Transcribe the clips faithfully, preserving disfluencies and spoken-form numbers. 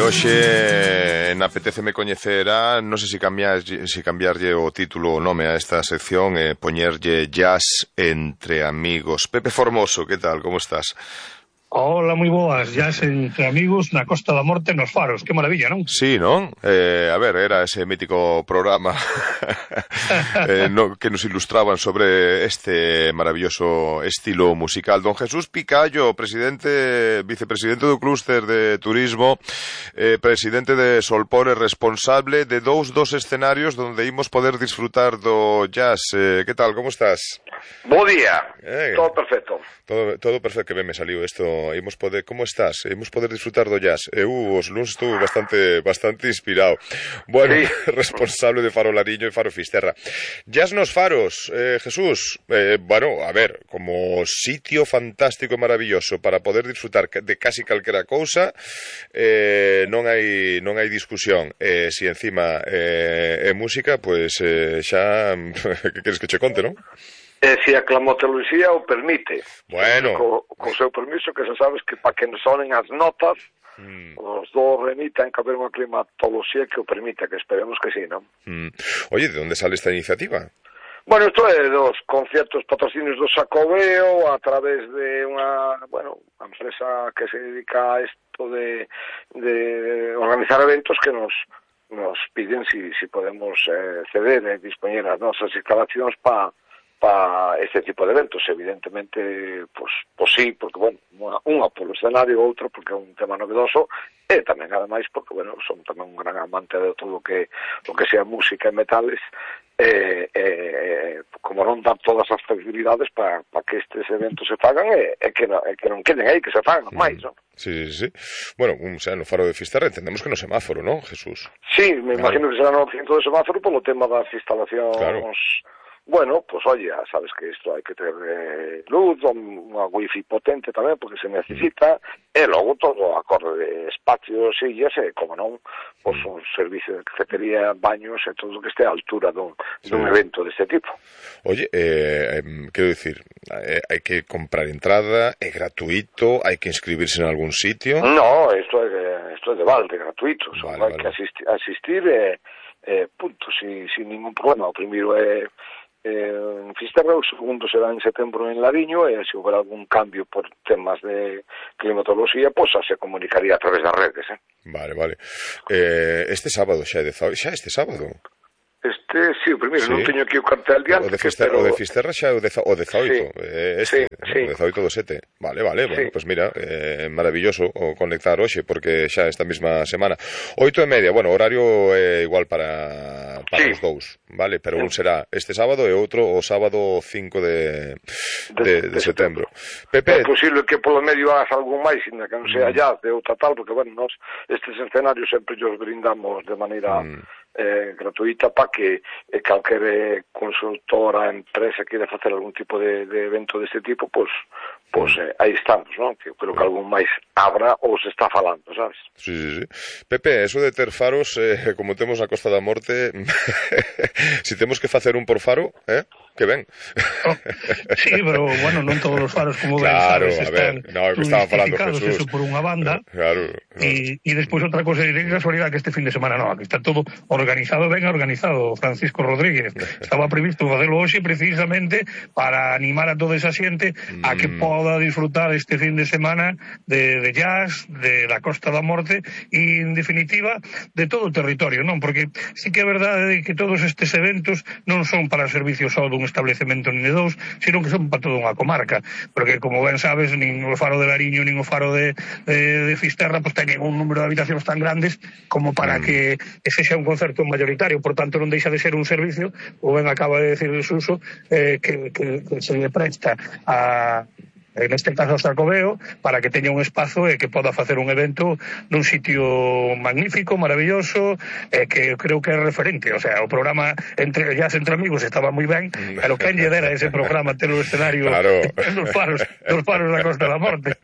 hoxe napetéceme coñecer a, non sei se cambiarlle, se cambiarlle o título ou nome a esta sección e eh, poñerlle Jazz entre amigos. Pepe Formoso, que tal, como estás? Hola, moi boas, jazz entre amigos na Costa da Morte nos Faros, que maravilla, non? Sí, non? Eh, a ver, era ese mítico programa eh, no, que nos ilustraban sobre este maravilloso estilo musical. Don Jesús Picallo, presidente, vicepresidente do Clúster de Turismo, eh, presidente de Solpor, responsable de dous dos escenarios donde imos poder disfrutar do jazz. Eh, que tal, como estás? Bo día, eh, todo perfecto. Todo, todo perfecto, que ben me saliu isto. Imos poder, como estás? Imos poder disfrutar do jazz. Eu os luns estuve bastante bastante inspirado. Bueno, sí. Responsable de Faro Lariño e Faro Fisterra. Jazz nos Faros, eh, Jesús. Eh, bueno, a ver, como sitio fantástico e maravilloso para poder disfrutar de casi calquera cousa, eh, non hai non hai discusión. Eh, si encima eh, é música, pois pues, eh, xa que queres que che conte, non? E se a climatoloxía o permite. Bueno. Co, co seu permiso, que xa sabes que para que nos sonen as notas, mm. os do remitan que haber unha climatoloxía que o permita, que esperemos que sí, non? Mm. Oye, de onde sale esta iniciativa? Bueno, isto é dos conciertos patrocinios do Xacobeo a través de unha, bueno, unha empresa que se dedica a isto de, de organizar eventos que nos nos piden si, si podemos eh, ceder e dispoñer as nosas instalacións para para este tipo de eventos. Evidentemente, pues, pues sí, porque, bueno, unha, unha polo escenario, outra porque é un tema novedoso, e tamén, ademais, porque, bueno, son tamén un gran amante de todo o que, o que sea música e metales, e, e, como non dar todas as facilidades para pa que estes eventos se fagan e, e, que, no, e que non queden aí, que se fagan máis, non? Sí, sí, sí. Bueno, o sea, no Faro de Fisterra entendemos que no semáforo, ¿no, Jesús? Sí, me claro. imagino que será no cinto de semáforo polo tema das instalacións... Claro. Bueno, pues oye, sabes que isto hai que ter eh, luz, unha wifi potente tamén, porque se necesita, mm. e logo todo acorde de espacios, sillas, e como non, pues un servicio de cafetería, baños, e todo que este a altura dun, sí. dun evento deste tipo. Oye, eh, eh, quero dicir, eh, hai que comprar entrada, é gratuito, hai que inscribirse en algún sitio? No, isto é, isto é de balde, gratuito, vale, só hai vale. que asistir, asistir e, eh, punto, sin, sin ningún problema. O primeiro é Eh, en Fisterra, o segundo será en setembro en Lariño, e se houver algún cambio por temas de climatoloxía, pois pues, se comunicaría a través das redes, eh? Vale, vale. Eh, este sábado xa é de xa este sábado. Este, sí, o primeiro, sí. Non teño aquí o cartel diante. O de Fisterra, pero... o de Fisterra xa é o, de, o dezaoito. Sí, eh, este, sí, sí. O dezaoito do sete. Vale, vale, bueno, sí. Pues mira, eh, maravilloso o conectar hoxe, porque xa esta mesma semana. Oito e media, bueno, horario é eh, igual para, para sí. os dous, vale? Pero sí. Un será este sábado e outro o sábado cinco de, de, de, de, de setembro. Pepe... É posible que polo medio hagas algún máis, ainda que non sea mm. ya de outra tal, porque, bueno, nos estes escenarios sempre os brindamos de maneira... Mm. Eh, gratuita para que eh, calquer consultora, empresa queira facer algún tipo de, de evento deste tipo, pois pues, pues, eh, aí estamos, non? Que creo que algún máis abra ou se está falando, sabes? Sí, sí, sí. Pepe, eso de ter faros, eh, como temos na Costa da Morte, si temos que facer un por faro, eh? Que ben. Oh, sí, pero, bueno, non todos os faros, como claro, ben sabes, están no, estaba falando Jesús. Eso por unha banda. Claro. E claro. despois outra cosa, de casualidade que este fin de semana non, que está todo organizado, ben organizado. Francisco Rodríguez estaba previsto facelo hoxe precisamente para animar a toda esa xente mm. a que poda disfrutar este fin de semana de, de jazz, de la Costa da Morte e, en definitiva, de todo o territorio, non? Porque sí que é verdade que todos estes eventos non son para servicios só dun establecemento nin de dous, sino que son para toda unha comarca, porque como ben sabes, nin o Faro de Lariño nin o Faro de, de, de Fisterra pues teñen un número de habitacións tan grandes como para mm. que ese xa un concerto mayoritario, por tanto non deixa de ser un servicio, ou ben acaba de decir el Suso, eh, que, que, que se le presta a en este caso Xacobeo, para que teña un espazo e que poda facer un evento nun sitio magnífico, maravilloso, e que creo que é referente. O sea, o programa entre Jazz entre amigos estaba moi ben, pero quen lle dera ese programa ter o escenario claro. nos faros, nos faros da Costa da Morte.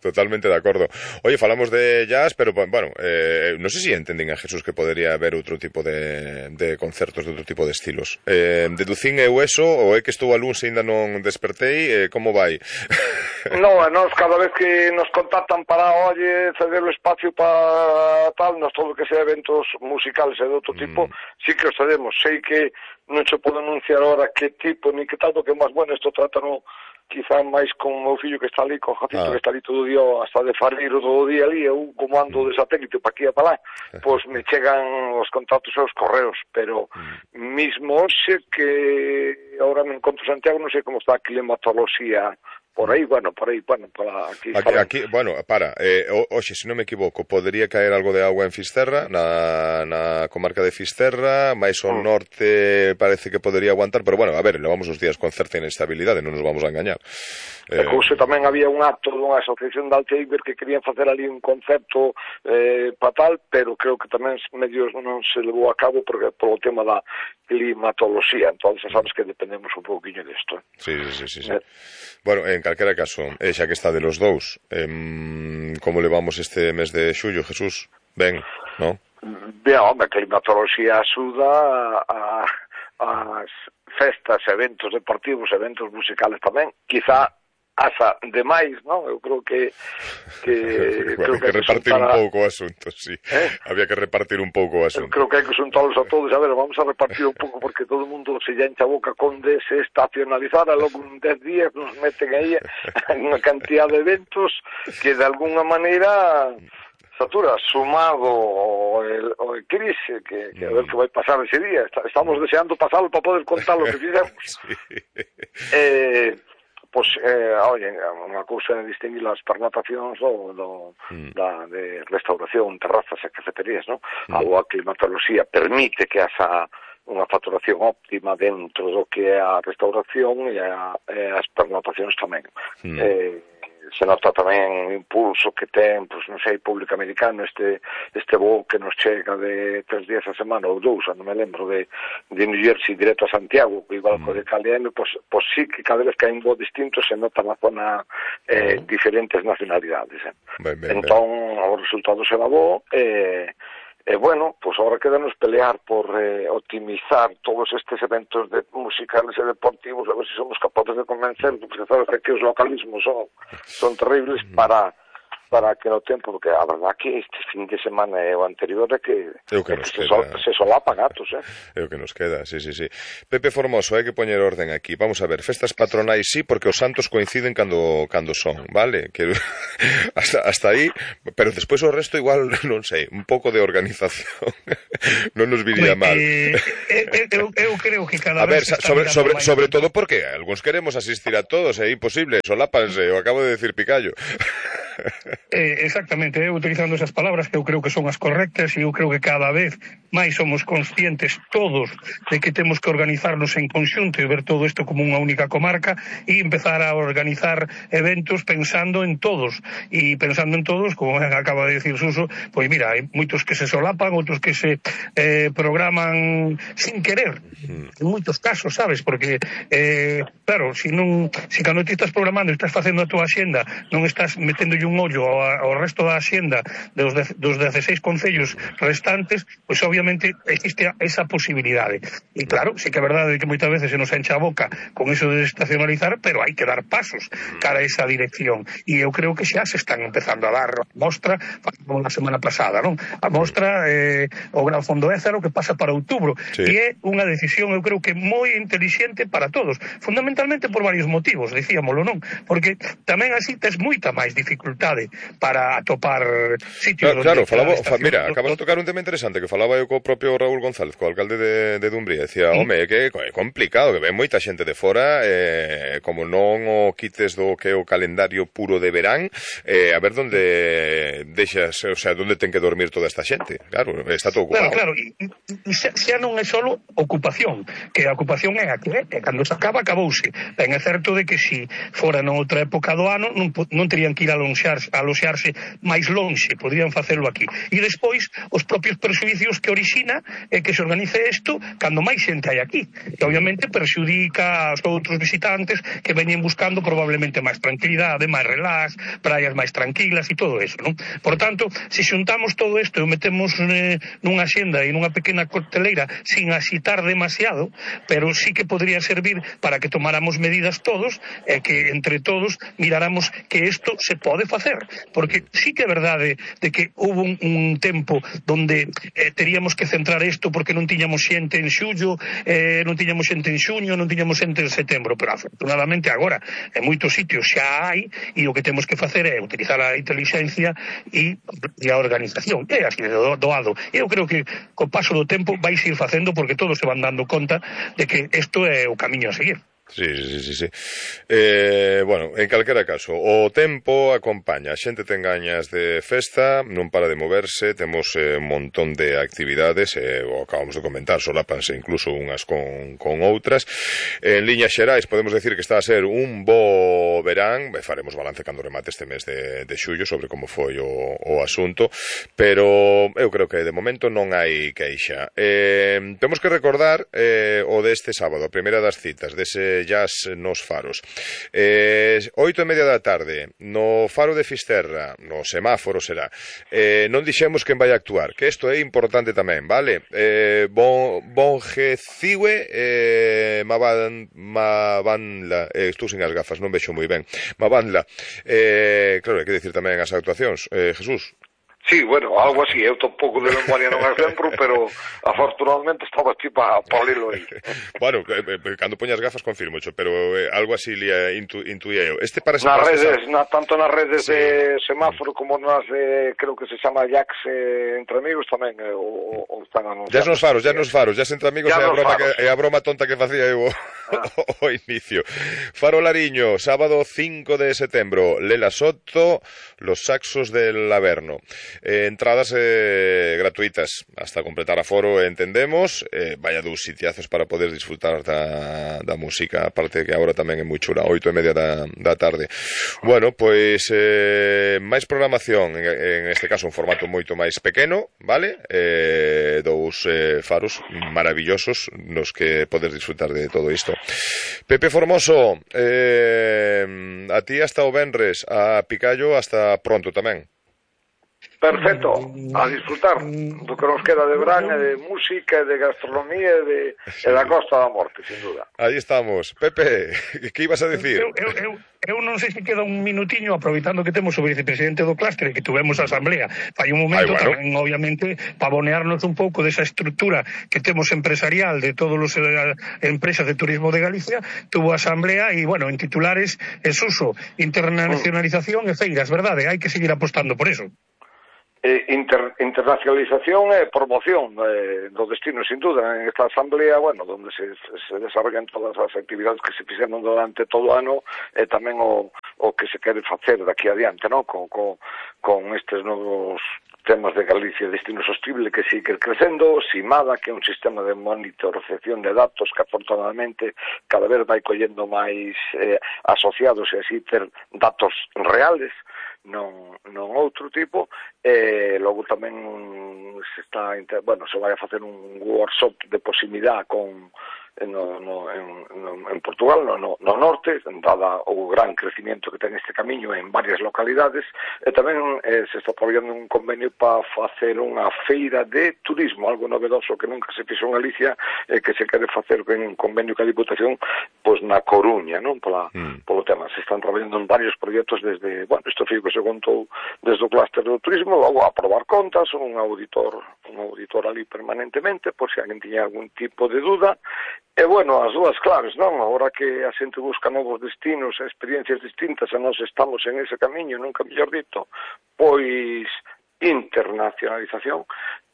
Totalmente de acordo. Oye, falamos de jazz, pero, bueno, eh, non sei se entenden a Jesús que podería haber outro tipo de, de concertos de outro tipo de estilos. Eh, deducín eu eso, ou é que estou a luns e ainda non despertei, eh, como vai? No, a nos cada vez que nos contactan para, oye, ceder o espacio para tal, nos todo que sea eventos musicales e de outro tipo, mm. sí que os cedemos. Sei que non se pode anunciar ahora que tipo ni que tal, porque máis bueno, isto trátano quizá máis con o meu fillo que está ali, con Jacito, ah. que está ali todo o día, hasta de fareiro todo o día ali, eu como ando mm. de satélite para aquí e para lá, pois me chegan os contactos e os correos, pero mm. mismo hoxe que ahora me encontro en Santiago, non sei como está a climatoloxía por aí, bueno, por aí, bueno, para aquí. Aquí, aquí bueno, para, eh, oxe, se non me equivoco, podería caer algo de agua en Fisterra, na, na comarca de Fisterra, máis ao mm. norte parece que podería aguantar, pero bueno, a ver, levamos os días con certa inestabilidade, non nos vamos a engañar. Eh... E cousa tamén había un acto dunha asociación de Alteiber que querían facer ali un concepto eh, para tal, pero creo que tamén medios non se levou a cabo porque polo tema da climatoloxía, entón sabes que dependemos un pouquinho disto. Sí, sí, sí, sí. Eh. Bueno, en calquera caso, eh, xa que está de los dous, eh, como levamos este mes de xullo, Jesús? Ben, non? Ben, home, a climatoloxía axuda a, a, as festas, eventos deportivos, eventos musicales tamén, quizá asa demais, non? Eu creo que que bueno, creo que, que repartir un pouco o asunto, sí. ¿Eh? Había que repartir un pouco o asunto. Eu creo que hai que xuntalos a todos, a ver, vamos a repartir un pouco porque todo o mundo se encha a boca con desestacionalizar, e logo en dez días nos meten aí unha cantidad de eventos que de alguna maneira satura, sumado o el, o el crise, que, que a ver que vai pasar ese día. Estamos deseando pasarlo para poder contar lo que fizemos. Sí. Eh, pois, eh, oye, unha cousa é distinguir as pernotacións do, do, mm. da, de restauración, terrazas e cafeterías, non? Mm. A climatoloxía permite que haxa unha facturación óptima dentro do que é a restauración e, a, e as pernotacións tamén. Mm. Eh, se nota tamén o impulso que ten, pois non sei, público americano, este este voo que nos chega de tres días a semana ou dous, non me lembro, de, de New Jersey directo a Santiago, igual mm. co de K L M, pois, pois sí que cada vez que hai un voo distinto se nota na zona eh, mm. diferentes nacionalidades. Eh. Ben, ben, entón, ben. O resultado será bo, e eh, E, eh, bueno, pois agora quedanos pelear por eh, optimizar todos estes eventos de musicales e deportivos, a ver se somos capaces de convencer, porque sabes que os localismos son, son terribles para para que no tempo, porque a verdad que este fin de semana e o anterior é que, é que, é que se, sol, se solapa gatos, eh? É o que nos queda, sí, sí, sí. Pepe Formoso, hai que poñer orden aquí. Vamos a ver, festas patronais sí, porque os santos coinciden cando cando son, vale? Que hasta, hasta aí, pero despois o resto igual, non sei, un pouco de organización non nos viría mal. Eh, eh, eu, eu creo que cada a vez ver, sobre, sobre, sobre todo porque algúns queremos asistir a todos, é imposible, solápanse, o acabo de decir Picallo. Eh, exactamente, eu utilizando esas palabras que eu creo que son as correctas, e eu creo que cada vez máis somos conscientes todos de que temos que organizarnos en conxunto e ver todo isto como unha única comarca e empezar a organizar eventos pensando en todos, e pensando en todos, como acaba de decir Suso, pois mira, hai moitos que se solapan, outros que se eh, programan sin querer, en moitos casos, sabes, porque eh, claro, si non, si cando ti estás programando e estás facendo a tua axenda, non estás meténdolle un ollo ao, ao resto da axenda dos, de, dos dezasseis concellos restantes, pois obviamente existe esa posibilidade. E claro, sí que é verdade que moitas veces se nos encha a boca con eso de desestacionalizar, pero hai que dar pasos cara a esa dirección. E eu creo que xa se están empezando a dar mostra, como na semana pasada, non? A mostra, eh, o Gran Fondo Ézaro, que pasa para outubro. Sí. E é unha decisión, eu creo que moi intelixente para todos. Fundamentalmente por varios motivos, dicíamolo, non? Porque tamén así tes moita máis dificultade para atopar sitios. Claro, claro, falaba, fa, mira, acabas de tocar un tema interesante que falaba eu co propio Raúl González, co alcalde de, de Dumbría, decía, ¿sí? Home, é que é complicado, que ven moita xente de fora, eh, como non o quites do que é o calendario puro de verán, eh, a ver onde deixas, o sea, onde ten que dormir toda esta xente. Claro, está todo ocupado. Claro, claro, e, e xa, xa non é solo ocupación, que a ocupación é a que é, que cando se acaba, acabouse. Ben, é certo de que si fora noutra época do ano non, non terían que ir a lonxar, a aloxarse máis lonxe, podrían facelo aquí. E despois, os propios perxuicios que orixina é que se organice isto cando máis xente hai aquí, que obviamente perxudica aos outros visitantes que veñen buscando probablemente máis tranquilidade, máis relax, praias máis tranquilas e todo eso, non? Por tanto, se xuntamos todo isto e o metemos eh, nunha xenda e nunha pequena cocteleira sin axitar demasiado, pero sí que podría servir para que tomáramos medidas todos e que entre todos miráramos que isto se pode facer, porque sí que é verdade de que hubo un, un tempo donde eh, teríamos que centrar isto porque non tiñamos xente en xullo, eh, non tiñamos xente en xuño, non tiñamos xente en setembro, pero afortunadamente agora en moitos sitios xa hai e o que temos que facer é utilizar a inteligencia e, e a organización, é así de doado. Eu creo que co paso do tempo vais ir facendo porque todos se van dando conta de que isto é o camiño a seguir. Sí, sí, sí, sí. Eh, bueno, en calquera caso, o tempo acompaña, a xente ten gañas de festa, non para de moverse, temos eh, un montón de actividades, eh, o acabamos de comentar, solapanse incluso unhas con, con outras. En liñas xerais podemos decir que está a ser un bo verán, faremos balance cando remate este mes de, de xullo sobre como foi o, o asunto, pero eu creo que de momento non hai queixa. Eh, temos que recordar eh, o deste sábado, a primeira das citas, dese jazz nos faros. Eh, oito e media da tarde, no faro de Fisterra, no semáforo será, eh, non dixemos quen vai actuar, que isto é importante tamén, vale? Eh, bon, Bongeciwe eh, Maban, Mabanla, eh, estou sin as gafas, non vexo moi ben, Mabanla, eh, claro, hai que dicir tamén as actuacións, eh, Jesús. Sí, bueno, algo así, eu tampouco de memoria non as lembro, pero afortunadamente estaba aquí para pa lelo aí. Bueno, eh, cando poñas gafas confirmo, pero eh, algo así lia intu, intuía eu. Este parece nas redes, pasar... na, tanto nas redes sí. de semáforo como nas de, creo que se chama Jax eh, entre amigos tamén, eh, o, o están anunciando. Ya nos faros, ya nos faros, ya entre amigos é a, broma que, é a broma tonta que facía eu ah. o, o inicio. Faro Lariño, sábado cinco de setembro, Lela Soto, Los Saxos del Averno. Eh, entradas eh, gratuitas hasta completar aforo, entendemos, eh, vaya dous sitiazos para poder disfrutar da, da música, aparte que agora tamén é moi chula, oito e media da, da tarde. Bueno, pois eh, máis programación, en, en este caso un formato moito máis pequeno, vale? Eh, dous eh, faros maravillosos nos que podes disfrutar de todo isto. Pepe Formoso, eh, a ti hasta o venres, a Picallo hasta pronto tamén. Perfecto, a disfrutar do que nos queda de verán e de música, de gastronomía e, de, sí. e da Costa da Morte, sin duda. Aí estamos. Pepe, que ibas a decir? Eu, eu, eu, eu non sei se queda un minutiño, aproveitando que temos o vicepresidente do clúster que tuvemos a asamblea. Fai un momento Ay, bueno. tamén, obviamente, pavonearnos un pouco desa estructura que temos empresarial de todas as eh, empresas de turismo de Galicia. Tuvo asamblea e, bueno, en titulares es uso, internacionalización mm. e feiras, verdade? Hai que seguir apostando por eso. Inter, internacionalización e promoción eh, do destino, sin duda. En esta asamblea, bueno, donde se, se desarrollan todas as actividades que se fixeron durante todo o ano e tamén o, o que se quere facer daqui adiante, ¿no? Con, con, con estes novos temas de Galicia, destino sostible que sigue crecendo, Simada, que é un sistema de monitorización de datos que afortunadamente cada vez vai collendo máis eh, asociados e así ter datos reales, non, non outro tipo, e logo tamén se está, bueno, se vai a facer un workshop de proximidade con no, no, en, no, en Portugal, no, no, no norte, dada o gran crecimiento que ten este camiño en varias localidades, e tamén eh, se está traballando un convenio para facer unha feira de turismo, algo novedoso que nunca se fixo en Galicia, e eh, que se quere facer en un convenio que a Diputación, pois na Coruña, non? Pola, mm. Polo tema, se están traballando en varios proxectos desde, bueno, isto foi que se contou desde o clúster do turismo, logo a aprobar contas, un auditor, un auditor ali permanentemente, por se alguén tiña algún tipo de duda. E, bueno, as dúas claves, non? Agora que a xente busca novos destinos, experiencias distintas, e nós estamos en ese camiño, nunca mellor dito, pois internacionalización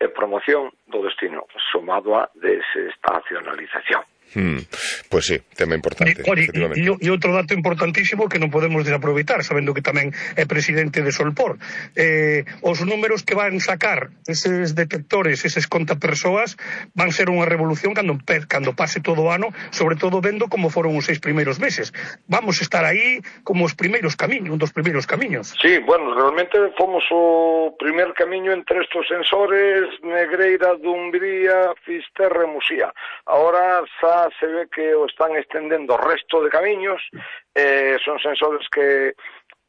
e promoción do destino, sumado a desestacionalización. Hmm. Pues sí, tema importante. E, e, e outro dato importantísimo que non podemos desaproveitar, sabendo que tamén é presidente de Solpor. Eh, os números que van sacar eses detectores, eses contapersoas, van ser unha revolución cando, cando pase todo o ano, sobre todo vendo como foron os seis primeiros meses. Vamos estar aí como os primeiros camiños, un dos primeiros camiños. Sí, bueno, realmente fomos o primer camiño entre estos sensores Negreira, Dumbría, Fisterra e Musía. Ahora xa se ve que o están estendendo o resto de camiños, eh, son sensores que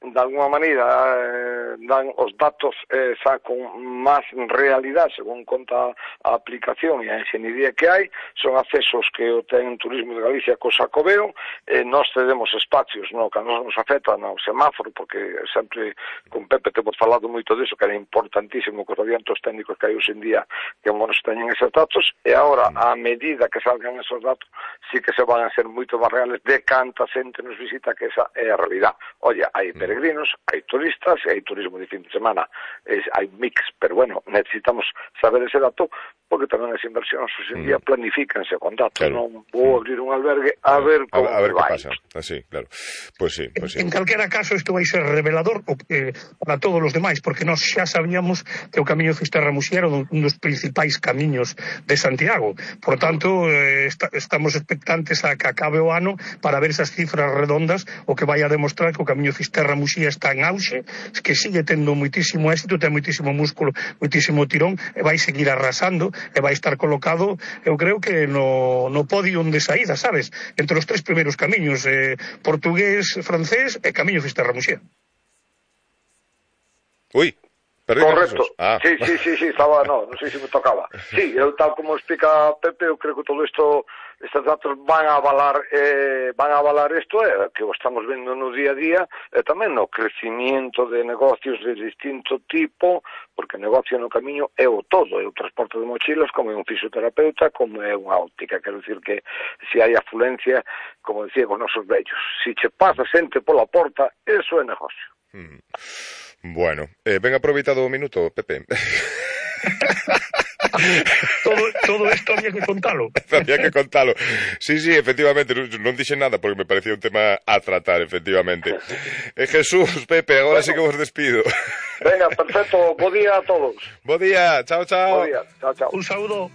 de alguna maneira eh, dan os datos eh, xa con máis realidade según conta a aplicación e a enxeñería que hai, son accesos que o ten Turismo de Galicia co Xacobeo, eh, nós cedemos espacios no que a nos nos afecta no semáforo, porque sempre con Pepe temos falado moito disso, que era importantísimo que os adiantos técnicos que hai hoxe en día que nos teñen esos datos, e agora a medida que salgan esos datos sí que se van a ser moito máis reales de canta xente nos visita, que esa é a realidad. Oye, hai peregrinos, hai turistas e hai turismo de fin de semana, es, hai mix, pero bueno, necesitamos saber ese dato porque tamén as inversións hoxe en día mm. planifícanse con datos, claro. Non vou abrir un albergue a ver como a, a ver vai. Que pasa. Así, claro. Pues sí, pues sí. En, en calquera caso isto vai ser revelador eh, para todos os demais, porque nós xa sabíamos que o camiño Fisterra-Muxía era un dos principais camiños de Santiago. Por tanto, eh, está, estamos expectantes a que acabe o ano para ver esas cifras redondas, o que vai a demostrar que o camiño Fisterra-Muxía está en auxe, que sigue tendo moitísimo éxito, ten moitísimo músculo, moitísimo tirón, e vai seguir arrasando, e vai estar colocado, eu creo que no, no podio de saída, sabes? Entre os tres primeiros camiños, eh, portugués, francés e camiño Fisterra-Muxía. Ui, perdí. Correcto, ah. sí, sí, sí, sí, estaba, no, non sei se me tocaba. Sí, eu tal como explica Pepe, eu creo que todo isto, estes datos van a avalar, eh, van a avalar isto, eh, que o estamos vendo no día a día, e tamén no crecimiento de negocios de distinto tipo, porque negocio no camiño é o todo, é o transporte de mochilas, como é un fisioterapeuta, como é unha óptica, quero dicir que se hai afluencia, como decía con nosos vellos, se che pasa xente pola porta, eso é negocio. Hmm. Bueno, eh, ben aproveitado o minuto, Pepe. todo, todo esto había que contalo. Había que contalo. Sí, sí, efectivamente, non, non dixen nada porque me parecía un tema a tratar, efectivamente. Eh, Jesús, Pepe, agora bueno, sí que vos despido. Venga, perfecto, bo día a todos. Bo día, chao, chao. Bo día, chao, chao. Un saúdo.